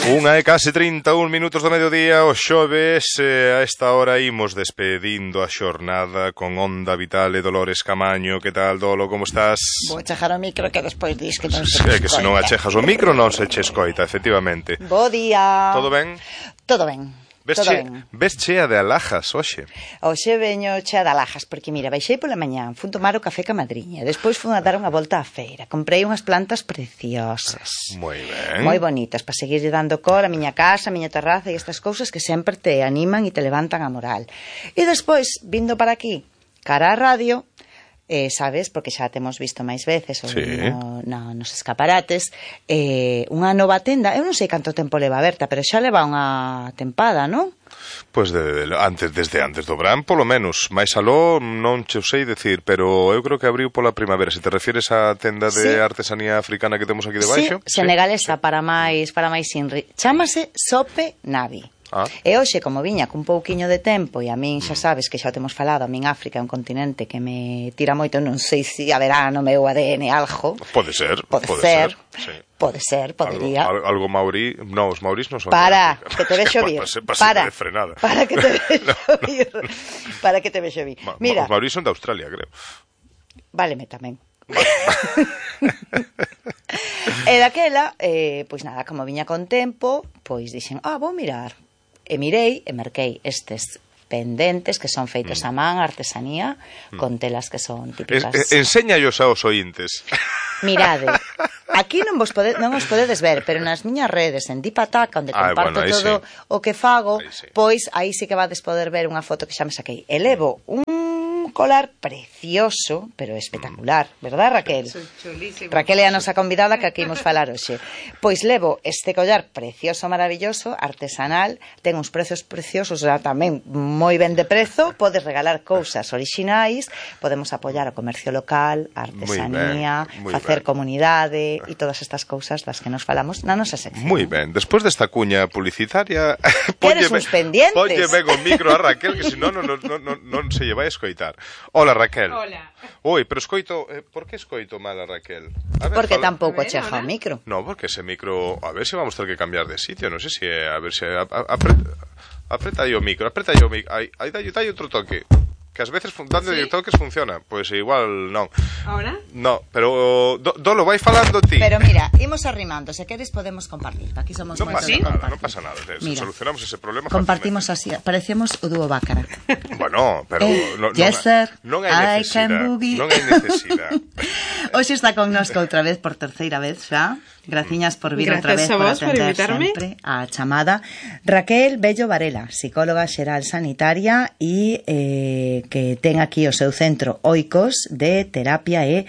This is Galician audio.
Unha e case 31 minutos do mediodía, o xoves, a esta hora imos despedindo a xornada con Onda Vital e Dolores Camaño. Que tal, Dolo, como estás? Vou chejar o micro que despois dis que non se É que se non achejas o micro non se che escoita, efectivamente. Bo día. Todo ben? Todo ben. Ves chea de alhajas hoxe? Hoxe veño chea de alhajas, porque mira, baixei pola mañá, fun tomar o café ca madriña, despois fun a dar unha volta á feira, comprei unhas plantas preciosas. Moi ben. Moi bonitas, para seguir dando cor a miña casa, a miña terraza e estas cousas que sempre te animan e te levantan a moral. E despois, vindo para aquí, cara á radio, sabes, porque xa temos visto máis veces nos escaparates, unha nova tenda, eu non sei canto tempo leva aberta, pero xa leva unha tempada, non? Pois desde antes do verán, polo menos. Mais aló non che sei decir, pero eu creo que abriu pola primavera. Se te refieres á tenda de artesanía africana que temos aquí debaixo? Sí, senegalesa, para máis inri. Chámase Sope Navi. E hoxe, como viña cun pouquiño de tempo, e a min xa sabes que xa temos falado, a min África é un continente que me tira moito, non sei se haberá no meu ADN algo. Pode ser. Sí. Pode ser, podería. Algo maurí, non, os maurís non son. Para, que te vexo vir. Para que te vexo vir. Para que te vexo vir. Mira, os maurís son de Australia, creo. Váleme tamén. E daquela, pois nada, como viña con tempo, pois dixen, vou mirar. E mirei e merquei estes pendentes que son feitos a man, artesanía, con telas que son típicas. Enséñallos aos ointes. Mirade, aquí non os podedes ver, pero nas miñas redes, en Dipataca, onde comparto todo o que fago, pois aí sí que vades poder ver unha foto que xa me saquei. E levo un colar precioso, pero espectacular, verdad, Raquel? Chulísimo. Raquel é a nosa convidada que aquí imos falar hoxe. Pois levo este collar precioso, maravilloso, artesanal, ten uns prezos preciosos, tamén moi ben de prezo, podes regalar cousas orixinais, podemos apoiar o comercio local, a artesanía, facer comunidade e todas estas cousas das que nos falamos na nosa sección. Moi ben, despois desta cuña publicitaria, Queres uns pendientes? Ponlle ben o micro a Raquel, que senón non se lle vai a escoitar. Hola, Raquel. Hola. Oi, pero escoito... por que escoito mal a Raquel? Porque tampouco cheja o micro. No, porque ese micro... A ver se vamos ter que cambiar de sitio. Non sei se... A ver se... Apreta aí o micro. Aí dai outro toque. Que ás veces dando toques funciona. Pois igual non. Ahora? No, pero Dolo, vai falando ti. Pero mira, imos arrimando. Se queres podemos compartir. Aquí somos moitos de compartir. Non pasa nada. Solucionamos ese problema. Compartimos así. Parecemos o dúo Bácara. Bueno, pero non hai necesidade. Hoxe está connosco outra vez por terceira vez xa. Graciñas por vir outra vez, por atender sempre a chamada. Raquel Bello Varela, psicóloga xeral sanitaria e que ten aquí o seu centro Oikos de terapia e